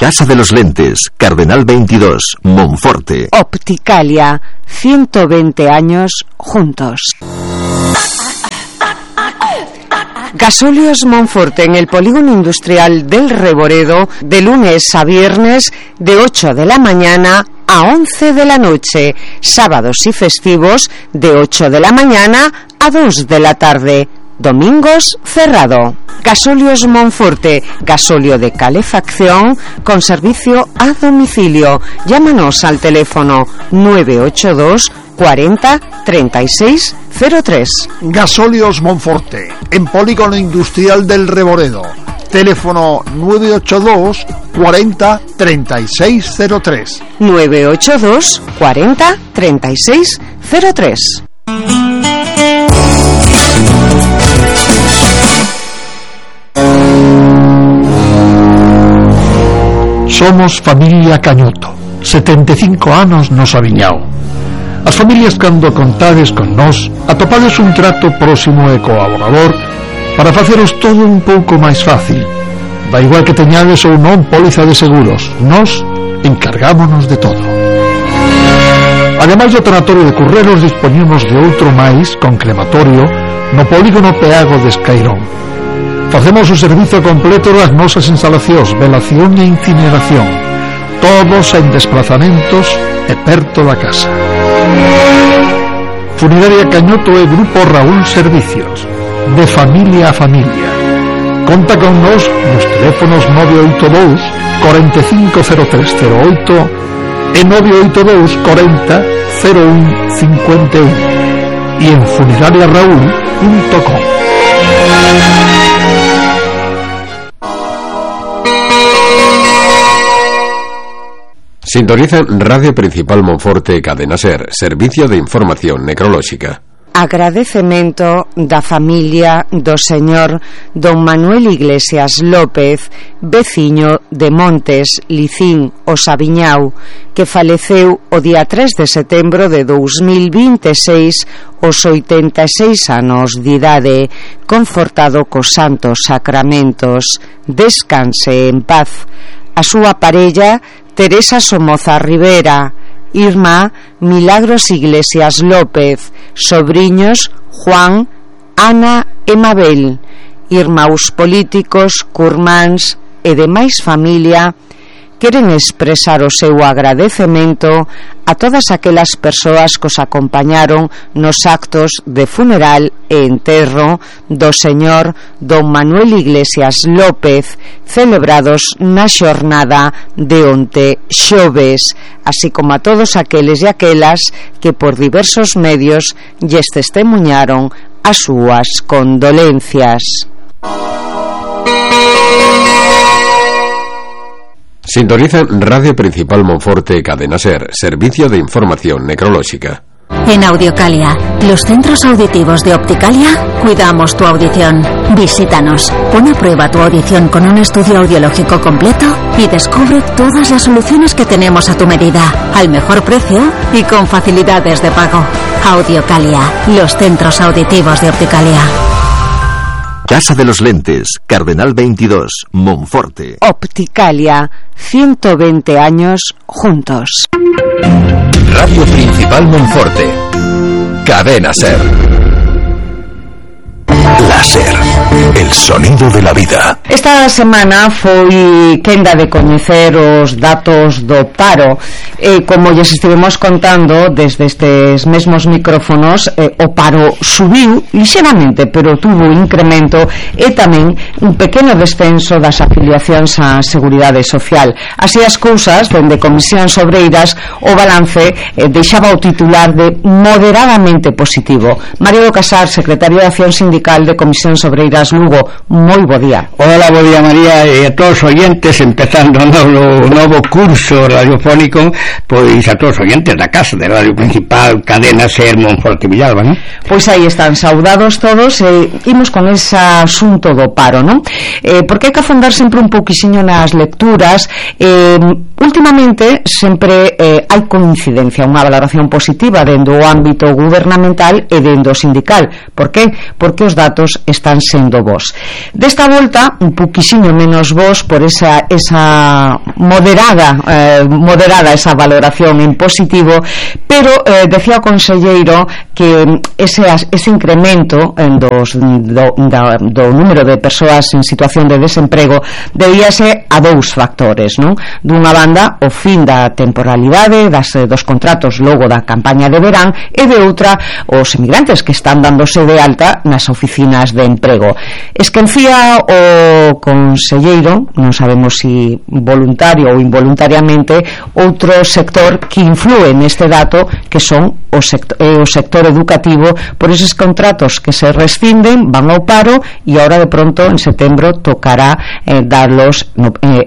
Casa de los Lentes, Cardenal 22, Monforte. Opticalia, 120 años juntos. Gasóleos Monforte en el polígono industrial del Reboredo, de lunes a viernes, de 8 de la mañana a 11 de la noche, sábados y festivos, de 8 de la mañana a 2 de la tarde. Domingos cerrado. Gasóleos Monforte, gasóleo de calefacción con servicio a domicilio. Llámanos al teléfono 982 40 36 03. Gasóleos Monforte, en polígono industrial del Reboredo. Teléfono 982 40 36 03. 982 40 36 03. Somos familia Cañoto, 75 anos nos aviñao. As familias cando contades con nós atopades un trato próximo e colaborador para faceros todo un pouco máis fácil. Da igual que teñades ou non póliza de seguros, nós encargámonos de todo. Ademais do tanatorio de Curreros, dispoñemos de outro máis con crematorio no polígono Peago de Escairón. Facemos o servizo completo das nosas instalacións, velación e incineración, todos en desplazamentos e perto da casa. Funeraria Cañoto e Grupo Raúl Servicios, de familia a familia. Conta con nos nos teléfonos 982 450308 e 982 40 01 51 e en funerariaraúl.com. Sintonizan Radio Principal Monforte, Cadena Ser, Servicio de Información Necrolóxica. Agradecemento da familia do señor don Manuel Iglesias López, veciño de Montes, Licín, o Sabiñao, que faleceu o día 3 de setembro de 2026 aos 86 anos de idade, confortado cos santos sacramentos. Descanse en paz. A súa parella Teresa Somoza Rivera, Irma Milagros Iglesias López, sobriños Juan, Ana e Mabel, irmáns políticos, curmáns e demais familia, queren expresar o seu agradecemento a todas aquelas persoas que os acompañaron nos actos de funeral e enterro do señor don Manuel Iglesias López, celebrados na xornada de onte xoves, así como a todos aqueles e aquelas que por diversos medios lles testemunharon as súas condolencias. Sintonizan Radio Principal Monforte, Cadena Ser, Servicio de Información Necrolóxica. En Audiocalia, los centros auditivos de Opticalia, cuidamos tu audición. Visítanos, pon a prueba tu audición con un estudio audiológico completo y descubre todas las soluciones que tenemos a tu medida, al mejor precio y con facilidades de pago. Audiocalia, los centros auditivos de Opticalia. Casa de los Lentes, Cardenal 22, Monforte. Opticalia, 120 años juntos. Radio Principal Monforte. Cadena Ser. Láser, el sonido de la vida. Esta semana foi quenda de coñecer os datos do paro. Como lles estivemos contando desde estes mesmos micrófonos, o paro subiu lixeramente, pero tuvo incremento e tamén un pequeno descenso das afiliacións á Seguridade Social. Así as cousas, dende Comisións Obreiras, o balance deixaba o titular de moderadamente positivo. Mario do Casar, secretario de Acción Sindical de Comisións Obreiras Lugo, moi bo día. Hola, bo día, María, e a todos os oyentes, empezando o novo curso radiofónico, pois a todos os oyentes da casa de Radio Principal, Cadena Ser, Monforte, Villalba, non? Pois aí están, saudados todos, e imos con ese asunto do paro, non? Porque hai que afondar sempre un pouquixiño nas lecturas. Últimamente sempre hai coincidencia, unha valoración positiva dentro do ámbito gubernamental e dentro do sindical. Por que? Porque os datos están sendo bons. Desta volta, un poquisiño menos bons por esa moderada esa valoración en positivo, pero decía o conselleiro que ese incremento do número de persoas en situación de desemprego debíase a dous factores, non? Dunha banda, o fin da temporalidade dos contratos logo da campaña de verán, e de outra, os emigrantes que están dándose de alta nas oficinas de emprego. Esquecía o conselleiro, non sabemos si voluntario ou involuntariamente, outro sector que influe neste dato, que son o sector educativo, por esos contratos que se rescinden, van ao paro, e ahora de pronto en setembro tocará darlos,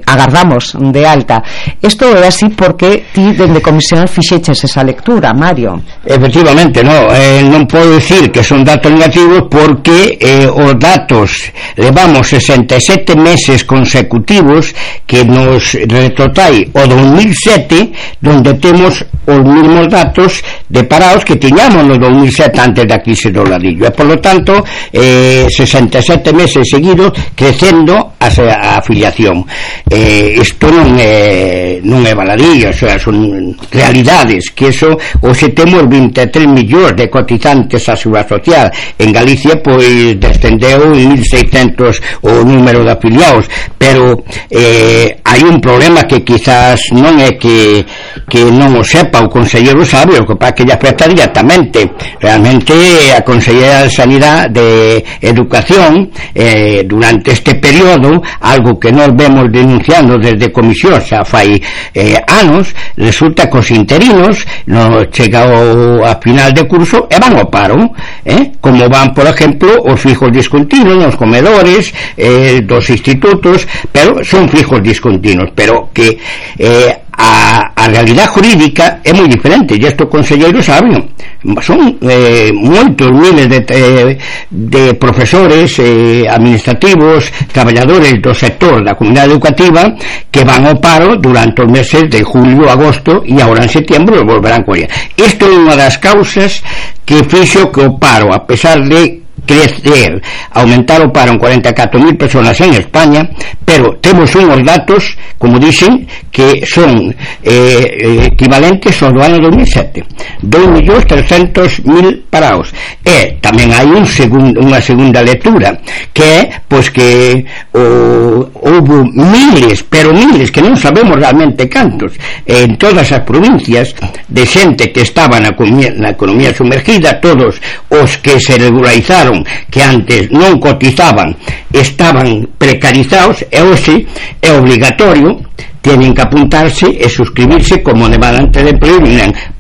agardamos de alta. Isto é así porque ti dende Comisión fixeches esa lectura, Mario. Efectivamente, non podo dicir que son datos negativos, porque os datos levamos 67 meses consecutivos que nos retrotrai o 2007, donde temos os mesmos datos de parados que tiñamos no 2007 antes da crise do ladrillo, e por lo tanto 67 meses seguidos crecendo a afiliación. Isto non é baladillo, son realidades, que eso hoxe temos 23 millóns de cotizantes a Seguridade Social. En Galicia pois descendeu 1.600 o número de afiliados, pero hai un problema que quizás non é que non o sepa, o conselleiro sabe, o que pasa que lle afecta directamente. Realmente a Conselleira de Sanidade de Educación durante este período, algo que nós vemos denunciando desde Comisión xa fai anos, resulta que os interinos non chega a final de curso e van ao paro, como van, por exemplo, os fijos discontinuos nos comedores dos institutos, pero son fijos discontinuos, pero que a realidade jurídica é moi diferente, e isto o conselleiro sabe. Son moitos miles de profesores, administrativos, traballadores do sector da comunidade educativa que van ao paro durante os meses de julio, agosto, e agora en setembro volverán coller. Isto é unha das causas que fixo que o paro, a pesar de crecer, aumentar o paro en 44.000 personas en España, pero temos unhos datos, como dicen, que son equivalentes ao do ano 2007, 2.300.000 parados. E tamén hai unha segunda lectura, que é pois que houve miles, pero miles, que non sabemos realmente cantos, en todas as provincias, de xente que estaba na economía sumergida, todos os que se regularizaron, que antes non cotizaban, estaban precarizados, e hoxe é obligatorio, tienen que apuntarse e suscribirse como demandante de emprego.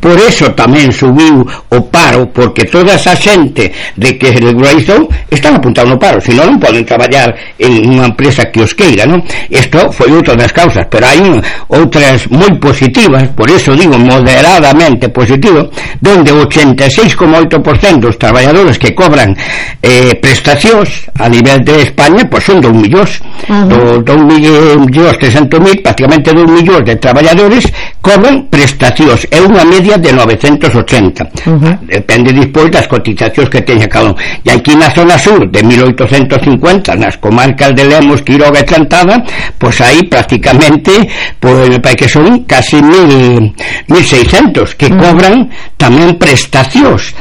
Por eso tamén subiu o paro, porque toda esa xente de que se regularizou están apuntados no paro, senón non poden traballar en unha empresa que os queira, non? Isto foi outra das causas, pero hai outras moi positivas, por eso digo moderadamente positivo, donde 86,8% dos traballadores que cobran prestacións a nivel de España, pois son 2 millóns, 2.300.000, prácticamente 2 millóns de traballadores cobran prestacións, é unha media de 980. Depende despois das cotizacións que teña cada un. E aquí na zona sur de 1850, nas comarcas de Lemos, Quiroga e Chantada, pois aí prácticamente pois me parece que son casi 1.600 que cobran tamén prestacións.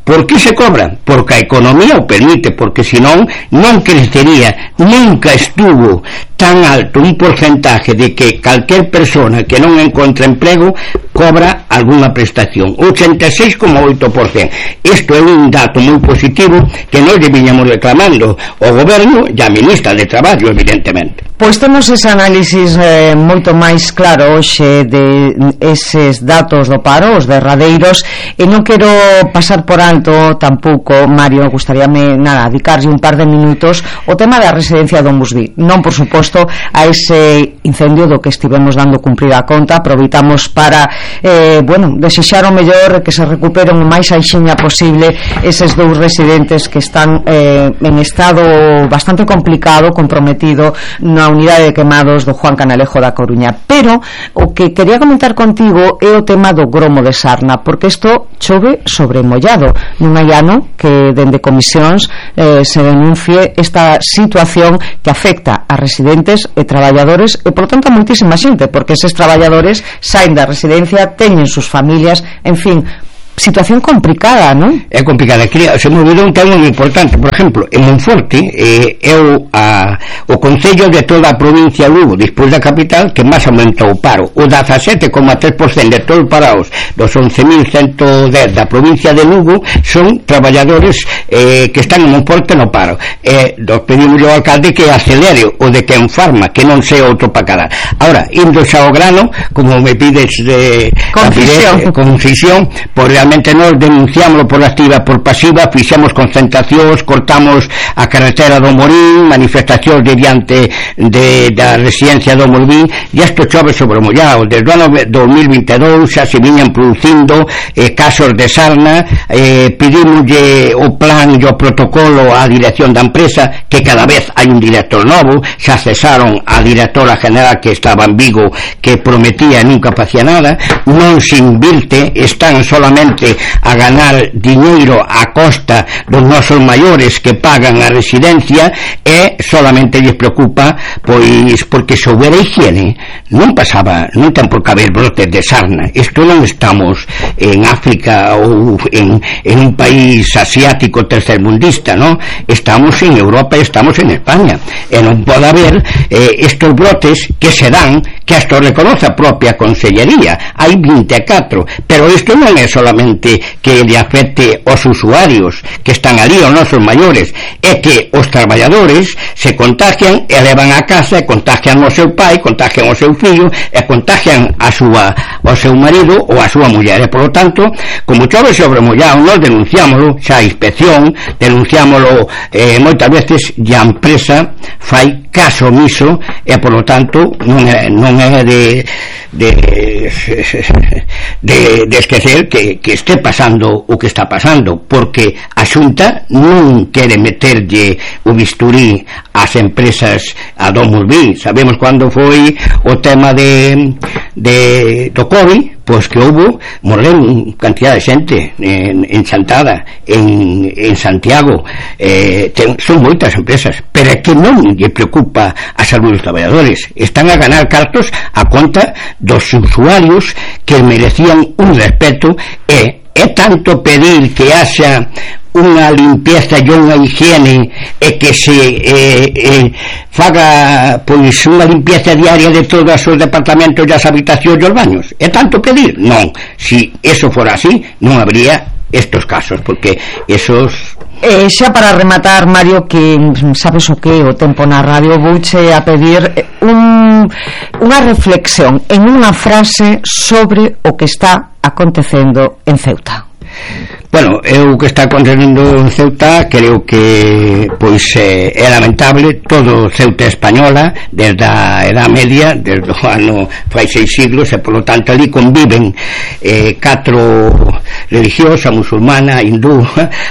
Por que se cobran? Porque a economía o permite, porque senón non crecería, nunca estuvo tan alto un porcentaje de que calquer persona que non encontra emprego cobra alguna prestación, 86,8%. Isto é un dato moi positivo que nós deberíamos reclamando o goberno e a ministra de Traballo, evidentemente. Pois temos ese análisis moito máis claro hoxe de eses datos do paro, os derradeiros, e non quero pasar por alto tampouco, Mario, gustaríame dedicarlle un par de minutos o tema da residencia do Musví, non por suposto a ese incendio do que estivemos dando cumprida conta. Aproveitamos para desexar o mellor, que se recuperen o máis aixiña posible eses dous residentes que están en estado bastante complicado, comprometido na unidade de quemados do Juan Canalejo da Coruña. Pero o que quería comentar contigo é o tema do gromo de Sarna, porque isto chove sobre mollado. Non hai ano que dende comisións se denuncie esta situación que afecta a residentes e traballadores e, por tanto, a moitísima xente, porque eses traballadores saen da residencia, teñen sus familias, en fin, situación complicada, non? É complicada. Se me olvidou un tema moi importante. Por exemplo, en Monforte o concello de toda a provincia de Lugo, despois da capital, que máis aumentou o paro. O 17,3% de todos os parados dos 11.110 da provincia de Lugo son traballadores que están en Monforte no paro. Nos pedimos ao alcalde que acelere o de que en Farma, que non sea outro para cada. Ahora, indo xa ao grano, como me pides de concisión, por realmente nós denunciámoslo por activa por pasiva, fixemos concentracións, cortamos a carretera do Morín, manifestacións diante da residencia do Morín, e isto chove sobre o mollado. Desde o ano 2022 xa se viñan producindo casos de sarna. Pedimoslle o plan e o protocolo á dirección da empresa, que cada vez hai un director novo, xa cesaron a directora general que estaba en Vigo, que prometía e nunca facía nada, non se invirte, están solamente a ganar diñeiro a costa dos nosos maiores que pagan a residencia, e solamente lles preocupa pois porque se houbera higiene non ten por que haber brotes de sarna. Isto non estamos en África ou en un país asiático tercermundista, non? Estamos en Europa, estamos en España, e non pode haber estos brotes que se dan, que hasta reconoce a propia consellería. Hai 24, pero isto non é solamente que lle afecte aos usuarios que están ali, os nosos maiores, é que os traballadores se contagian e levan a casa, e contagian ao seu pai, contagian ao seu fillo, e contagian ao seu marido ou a súa muller. E, por lo tanto, como chove sobre mollado, nós denunciámoslo xa a inspección, denunciámoslo moitas veces, e a empresa fai caso omiso, e, por lo tanto, non é de esquecer que este pasando o que está pasando, porque a Xunta non quere meterlle o bisturí ás empresas a Domusville. Sabemos cando foi o tema do COVID, pois que houve, morreron cantidad de xente en Chantada, en Santiago. Son moitas empresas, pero é que non lle preocupa a saúde dos traballadores. Están a ganar cartos a conta dos usuarios que merecían un respeto, e é tanto pedir que haxa unha limpieza e unha higiene, e que se faga pois unha limpieza diaria de todos os departamentos, das habitacións e os baños. É tanto pedir? Non. Si eso fora así, non habría estos casos, porque esos... xa para rematar, Mario, que sabes o que o tempo na radio, vouche a pedir unha reflexión en unha frase sobre o que está acontecendo en Ceuta. Bueno, o que está acontecendo en Ceuta creo que pois é lamentable. Todo Ceuta española desde a Edad Media, desde o ano fai 6 siglos, e polo tanto ali conviven 4 religións, a musulmana, a hindú,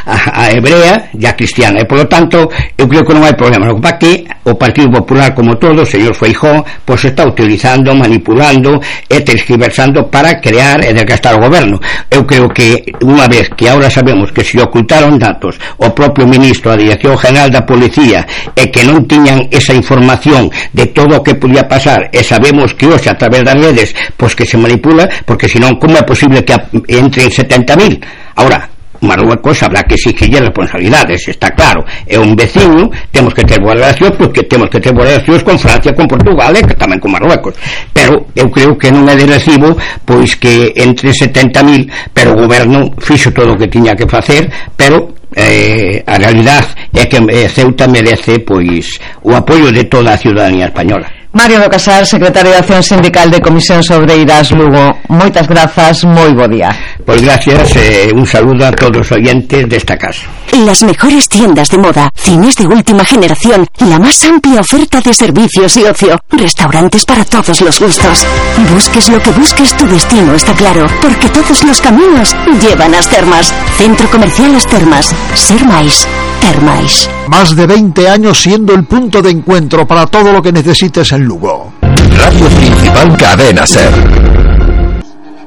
a hebrea e a cristiana, e polo tanto eu creo que non hai problema. O que pasa que o Partido Popular, como todo, o señor Feijóo, pois está utilizando, manipulando e tergiversando para crear e desgastar o goberno. Eu creo que unha vez que ahora sabemos que se ocultaron datos o propio ministro da Dirección General da Policía, e que non tiñan esa información de todo o que podía pasar, e sabemos que hoxe a través das redes pois que se manipula, porque senón como é posible que entren 70.000? Ahora, Marruecos habrá que exigirlle responsabilidades, está claro, é un vecino, temos que ter boas relacións, porque temos que ter boas relacións con Francia, con Portugal e tamén con Marruecos, pero eu creo que non é de recibo pois que entre 70.000, pero o goberno fixo todo o que tiña que facer, pero a realidade é que Ceuta merece pois o apoio de toda a ciudadanía española. Mario do Casar, secretario de Acción Sindical de Comisións Obreiras Lugo. Moitas grazas, moi bo día. Pues gracias, un saludo a todos los oyentes de esta casa. Las mejores tiendas de moda, cines de última generación, la más amplia oferta de servicios y ocio, restaurantes para todos los gustos. Busques lo que busques, tu destino está claro, porque todos los caminos llevan a As Termas. Centro Comercial As Termas. Ser máis, ter máis. Más de 20 años siendo el punto de encuentro para todo lo que necesites en Lugo. Radio Principal Cadena Ser.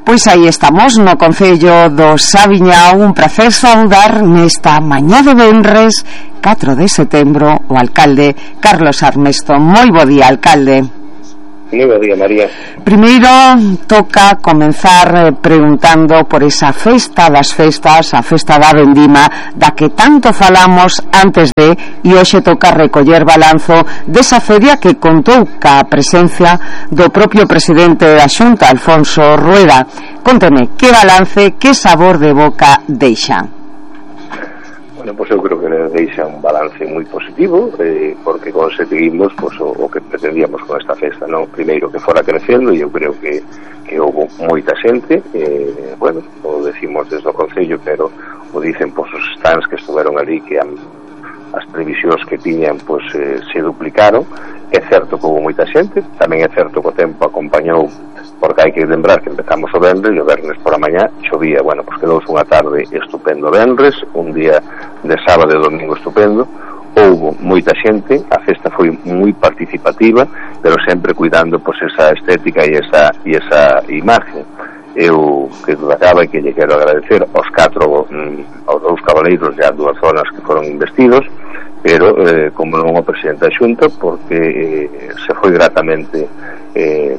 Pois aí estamos no Concello do Saviñao. Un prazer saudar nesta mañá de venres 4 de setembro o alcalde Carlos Armesto. Moi bo día, alcalde. Moi bo día, María. Primeiro toca comenzar preguntando por esa festa das festas, a festa da vendima, da que tanto falamos antes de, e hoxe toca recoller balanzo desa feria que contou ca presencia do propio presidente da Xunta, Alfonso Rueda. Conteme, que balance, que sabor de boca deixa? Bueno, pues eu creo que deixa un balance moi positivo, porque conseguimos pues, o que pretendíamos con esta festa, non? Primeiro que fora crecendo, e eu creo que houve moita xente, bueno, o decimos desde o Concello, pero o dicen pues, os stands que estuveron ali, que as previsións que tiñan pues, se duplicaron. É certo que houve moita xente, tamén é certo que o tempo acompañou, porque hai que lembrar que empezamos o venres e o vernes por a mañá chovía. Bueno, pues quedou unha tarde estupendo venres, un día de sábado e domingo estupendo. Houve moita xente, a festa foi moi participativa, pero sempre cuidando pues, esa estética e esa imagen. Eu que dudacaba e que lle quero agradecer aos aos dous cabaleiros e ás dúas zonas que foron investidos, pero como non o presidente da Xunta, porque se foi gratamente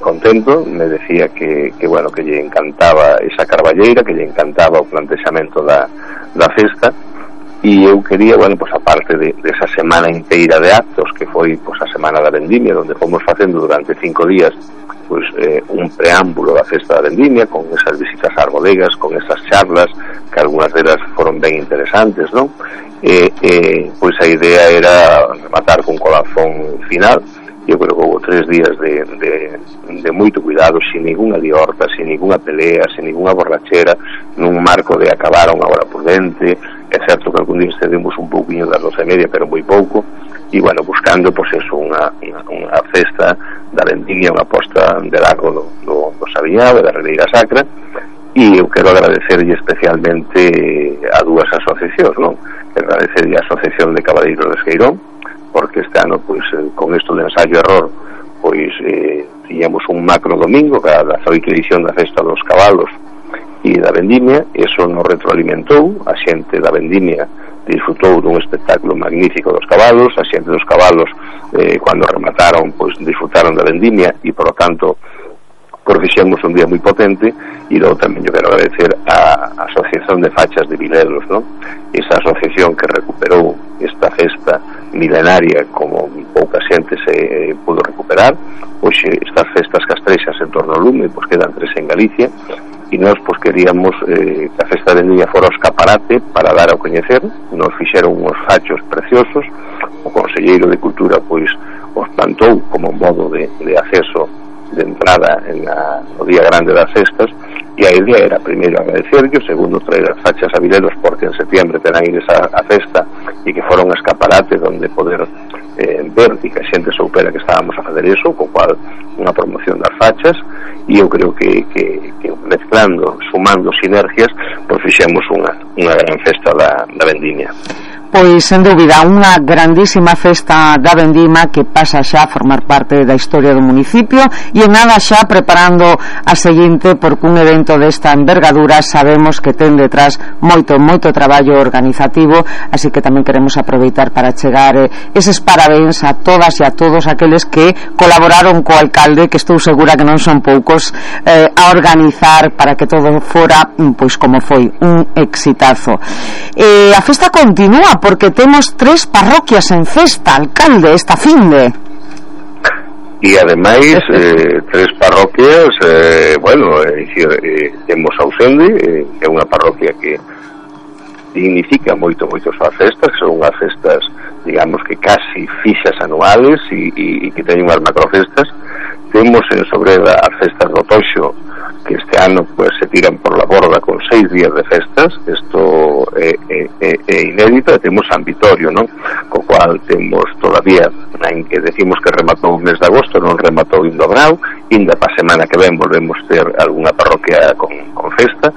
contento, me decía que bueno, que lle encantaba esa carballeira, que lle encantaba o plantexamento da festa, e eu quería, bueno, pues aparte de esa semana inteira de actos que foi pues, a semana da vendimia, onde fomos facendo durante 5 días pues, un preámbulo da festa da vendimia, con esas visitas ás bodegas, con esas charlas, que algunhas delas foron ben interesantes, non? Pois a idea era rematar con colafón final. Eu creo que houve 3 días de moito cuidado, sin ninguna liorta, sin ninguna pelea, sin ninguna borrachera, nun marco de acabar a unha hora prudente. É certo que algún día excedemos un pouquinho das 12:30, pero moi pouco, e bueno, buscando pois eso, unha festa da vendimia, unha posta de lago do Saviñao, da Ribeira Sacra. E eu quero agradecerlle especialmente a dúas asociacións, non? Quero agradecerlle a Asociación de Cabaleiros de Esqueirón, porque este ano, pois, con isto de ensayo e error, pois, tiñamos un macro domingo, que era a 18ª edición da Festa dos Cabalos e da Vendimia. Eso nos retroalimentou, a xente da Vendimia disfrutou dun espectáculo magnífico dos cabalos, a xente dos cabalos, cando remataron, pois, disfrutaron da Vendimia, e, por lo tanto, fixemos un día moi potente. E logo tamén eu quero agradecer a Asociación de Fachas de Vilelos, non? Esa asociación que recuperou esta festa milenaria como pouca xente se pudo recuperar. Hoxe estas festas castrexas en torno ao lume, pois quedan 3 en Galicia, e nós pois queríamos que a festa de Vendimia fora o escaparate para dar a coñecer. Nos fixeron uns fachos preciosos, o Conselleiro de Cultura pois os plantou como modo de acceso de entrada no día grande das festas, e a idea era primeiro agradecerlo, segundo traer as fachas a Vilelos, porque en septiembre terán ides a festa, e que fora un escaparate donde poder ver e que a xente soupera que estábamos a fazer eso, co cual unha promoción das fachas. E eu creo que mezclando, sumando sinergias, pois fixemos unha gran festa da vendimia. Pois, sen dúbida, unha grandísima festa da vendima que pasa xa a formar parte da historia do municipio, e en nada xa preparando a seguinte, porque un evento desta envergadura sabemos que ten detrás moito traballo organizativo, así que tamén queremos aproveitar para chegar eses parabéns a todas e a todos aqueles que colaboraron co alcalde, que estou segura que non son poucos, a organizar para que todo fora, pois como foi, un exitazo. A festa continúa, porque temos 3 parroquias en festa, alcalde, esta finde. E ademais 3 parroquias, bueno, temos Ausende, que é unha parroquia que significa moito as festas, que son unhas festas, digamos que casi fixas anuales, e que teñen unhas macrofestas, temos en Sobreda as festas do Toxo, que este ano pues se tiran por la borda con 6 días de festas. Isto é inédito. Temos San Vitorio, non? Co cual temos todavía, en que decimos que rematou o mes de agosto, non rematou indo a Brau, inda pa semana que ven volvemos ter algunha parroquia con festa,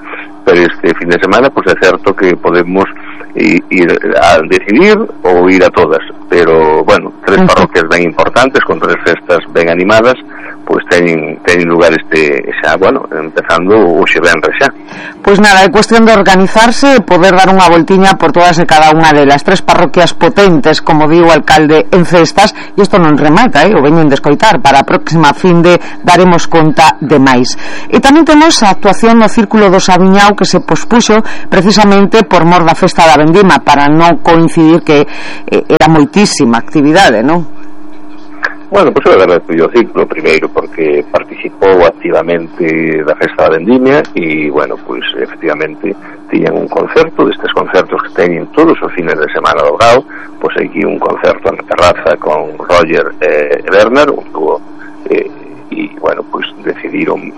pero este fin de semana pues é certo que podemos ir a decidir ou ir a todas, pero bueno, 3 parroquias ben importantes con 3 festas ben animadas, pois teñen lugar xa, bueno, empezando hoxe venres xa. Pois nada, é cuestión de organizarse e poder dar unha voltiña por todas e cada unha delas. 3 parroquias potentes, como digo o alcalde, en festas, e isto non remata, o veñen de escoitar. Para a próxima finde daremos conta de máis. E tamén temos a actuación no Círculo do Sabiñao, que se pospuxo precisamente por mor da festa da vendima, para non coincidir que era moitísima actividade, non? Bueno, pois eu agradezo o Círculo primeiro porque participou activamente da festa da vendimia e, bueno, pois efectivamente tiñan un concerto, destes concertos que teñen todos os fines de semana do Grau, pois aquí un concerto na terraza con Roger e Bernard, un dúo, e, bueno, pois decidiron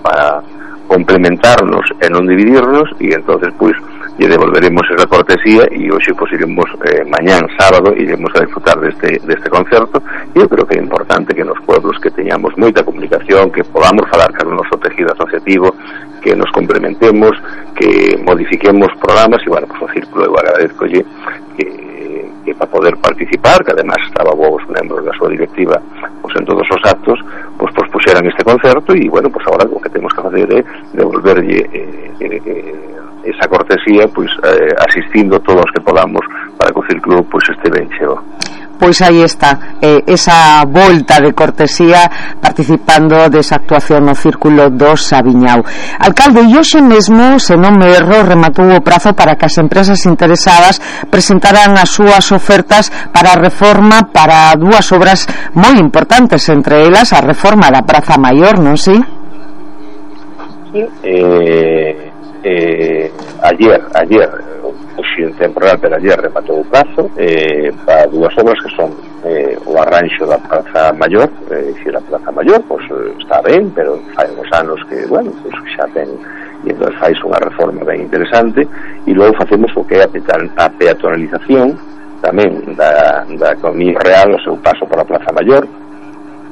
para complementarnos e non dividirnos, e entonces pois lle devolveremos esa cortesía e hoxe pois iremos mañán sábado iremos a disfrutar deste concerto. E eu creo que é importante que nos pueblos que teñamos moita comunicación, que podamos falar con o noso tejido asociativo, que nos complementemos, que modifiquemos programas, e bueno, pois o Círculo eu agradezcolle que para poder participar, que además estaba vos membros da súa directiva pois en todos os actos, pois puxeran este concerto, e bueno, pois agora o que temos que facer é devolverlle esa cortesía, pois asistindo todos os que podamos para que o Círculo pois este ben cheo. Pois aí está, esa volta de cortesía participando desa actuación no Círculo do Sabiñao. Alcalde, e hoxe mesmo, se non me erro, rematou o prazo para que as empresas interesadas presentaran as súas ofertas para a reforma para 2 obras moi importantes, entre elas a reforma da Praza Maior, non si? Sí, ayer hoxe en temporal, pero ayer rematou o prazo para 2 obras que son o arranxo da Praza Maior, dicir, a Praza Maior pois está ben, pero fai uns anos que, bueno, pois xa ten, e entón fais unha reforma ben interesante, e logo facemos o que é a peatonalización tamén da Economía Real, o seu paso para a Praza Maior,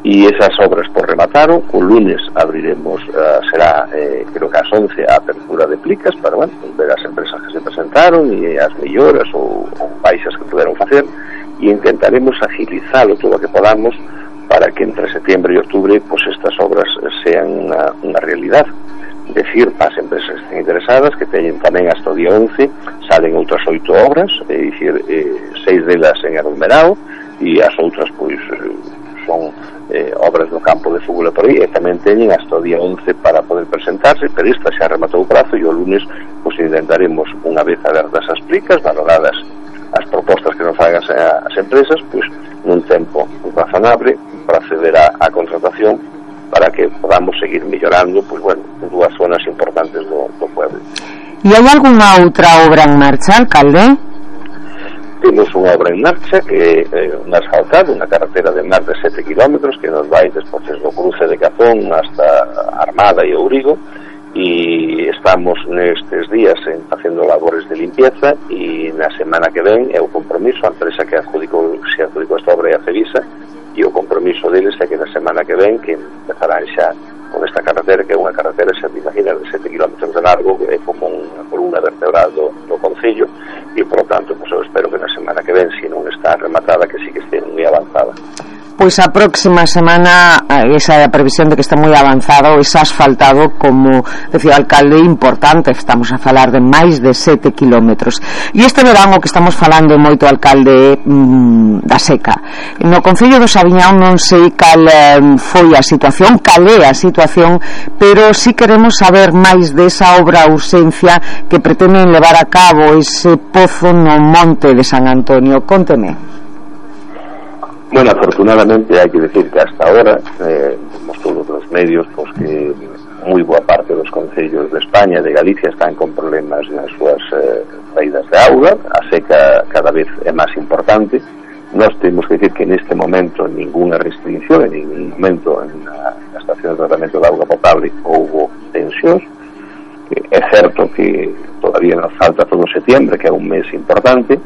e esas obras por remataron. O lunes abriremos, será creo que ás 11 a apertura de plicas para, bueno, ver as empresas que se presentaron e as melloras ou baixas que puderon facer, e intentaremos agilizalo todo o que podamos para que entre setembro e outubro pois estas obras sean unha realidad. Decir para as empresas que estén interesadas que teñen tamén hasta o día 11 salen outras 8 obras, é dicir, 6 delas en aglomerado e as outras pois son obras no campo de fútbol e por aí, e tamén teñen hasta o día 11 para poder presentarse, pero esta xa rematou o prazo, e o lunes pois intentaremos, unha vez abertas as plicas, valoradas as propostas que nos fagan as empresas, pois nun tempo razonable para acceder á contratación, para que podamos seguir mellorando, pois bueno, 2 zonas importantes do pueblo. E hai algunha outra obra en marcha, alcalde? Temos unha obra en marcha que é un asfaltado, unha carretera de máis de 7 kilómetros que nos vai despois do cruce de Cazón hasta Armada e Ourigo, e estamos nestes días facendo labores de limpieza, e na semana que ven é o compromiso, a empresa que se adjudicou esta obra é a Cevisa, e o compromiso deles é que na semana que ven que empezarán xa con esta carretera, que é unha carretera, xa te imaginas, de 7 kilómetros de largo, é como unha columna vertebral do Concello, e por lo tanto, pues, eu espero que na semana que ven, se non está rematada, que sí que este moi avanzada. Pois a próxima semana esa é a previsión de que está moi avanzado, ese asfaltado, como decía o alcalde, importante. Estamos a falar de máis de 7 kilómetros. E este verán o que estamos falando moito, alcalde, da seca. No Concello do Sabiñao non sei cal foi a situación, cal é a situación, pero sí queremos saber máis desa obra urxencia que pretenden levar a cabo ese pozo no monte de San Antonio. Cónteme. Bueno, afortunadamente hai que decir que hasta ahora vemos todos os medios pois que moi boa parte dos concellos de España, de Galicia, están con problemas nas súas saídas de auga. A seca cada vez é máis importante. Nós temos que decir que neste momento ninguna restricción, en ningún momento estación de tratamento de auga potable houve tensións. É certo que todavía nos falta todo setembro, que é un mes importante.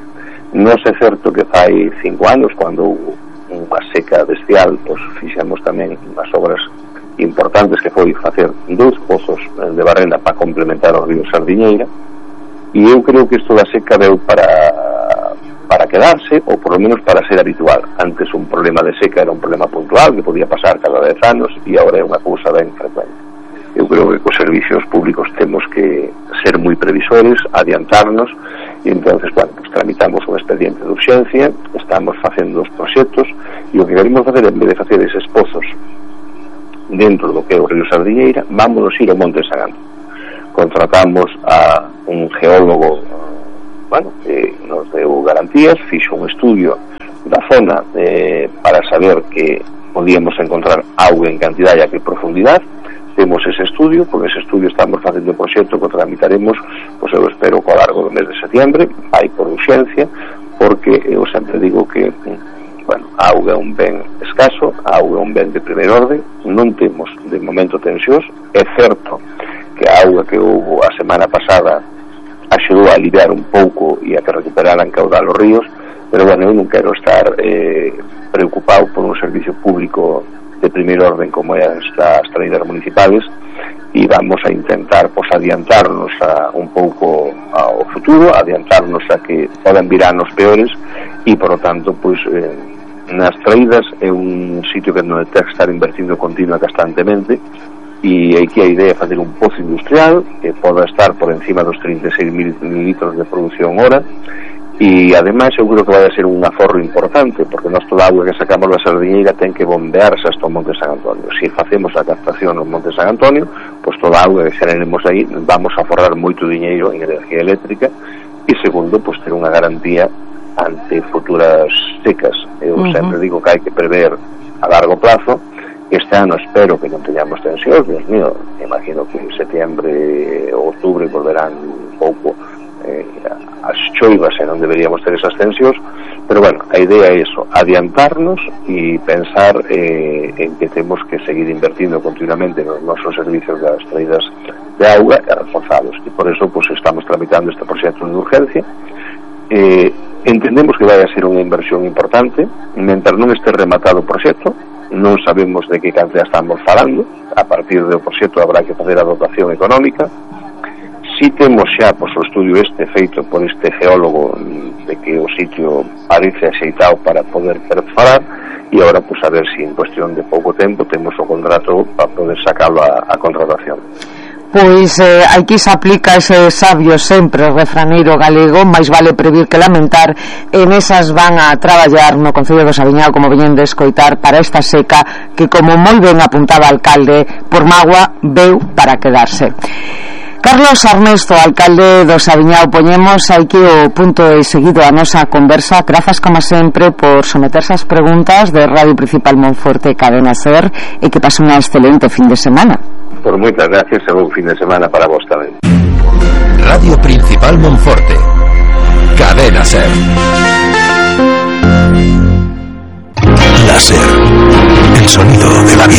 Non é certo que fai 5 anos, cando houve unha seca bestial, pois fixemos tamén unhas obras importantes, que foi facer 2 pozos de barrena para complementar o río Sardiñeira, e eu creo que isto da seca deu para quedarse, ou por lo menos para ser habitual. Antes un problema de seca era un problema puntual que podía pasar cada 10 anos, e agora é unha cousa ben frecuente. Eu creo que cos servicios públicos temos que ser moi previsores, adiantarnos, e entonces, bueno, pues tramitamos un expediente de urxencia, estamos facendo os proxectos, e o que queremos facer, en vez de facer eses pozos dentro do que é o río Sardiñeira, vámonos ir ao Monte Sagán. Contratamos a un geólogo, que nos deu garantías, fixo un estudio da zona para saber que podíamos encontrar auga en cantidad e a que profundidade. Temos ese estudio, con ese estudio estamos facendo o proxecto que tramitaremos, pois eu espero co largo do mes de setembro, vai por urxencia, porque eu sempre digo que a auga é un ben escaso, a auga é un ben de primeira orde, non temos de momento tensións. É certo que a auga que houve a semana pasada axudou a aliviar un pouco e a que recuperaran caudal os ríos, pero eu non quero estar preocupado por un servicio público de primeira orden como é as traídas municipales, e vamos a intentar adiantarnos un pouco ao futuro, adiantarnos a que podan vir anos peores, e por lo tanto nas traídas é un sitio que non ten que estar invertindo continua constantemente, e aquí a idea é fazer un pozo industrial que poda estar por encima dos 36.000 litros de produción hora, e ademais eu creo que vai a ser un aforro importante, porque nós toda a auga que sacamos da Sardiñeira ten que bombearse hasta o Monte San Antonio. Se facemos a captación no Monte San Antonio, pois toda a auga que xeraremos aí vamos a aforrar moito diñeiro en energía eléctrica, e segundo, pois ter unha garantía ante futuras secas. Eu sempre digo que hai que prever a largo plazo. Este ano espero que non teñamos tensións, Dios mío, imagino que en setembro ou outubro volverán un pouco as choivas e non deberíamos ter esas tensións, pero bueno, a idea é eso, adiantarnos e pensar en que temos que seguir invertindo continuamente nos nosos servicios das traídas de auga e reforzados, e por eso estamos tramitando este proxecto de urgencia. Entendemos que vai a ser unha inversión importante, mentre non este rematado o proxecto, non sabemos de que cantidad estamos falando. A partir do proxecto habrá que fazer a dotación económica. Si temos xa o estudio feito por este geólogo de que o sitio parece axeitado para poder perforar, e agora a ver se en cuestión de pouco tempo temos o contrato para poder sacalo a contratación. Pois aquí se aplica ese sabio sempre refraneiro galego, máis vale previr que lamentar, e nesas van a traballar no Concello do Saviñao, como veñen de escoitar, para esta seca que, como moi ben apuntaba o alcalde, por mágoa veu para quedarse. Carlos Armesto, alcalde do Saviñao, poñemos aquí o punto e seguido a nosa conversa. Grazas, como sempre, por someterse ás preguntas de Radio Principal Monforte Cadena Ser, e que pase unha excelente fin de semana. Por moitas gracias, e un fin de semana para vos tamén. Radio Principal Monforte Cadena Ser. La Ser, el sonido de la vida.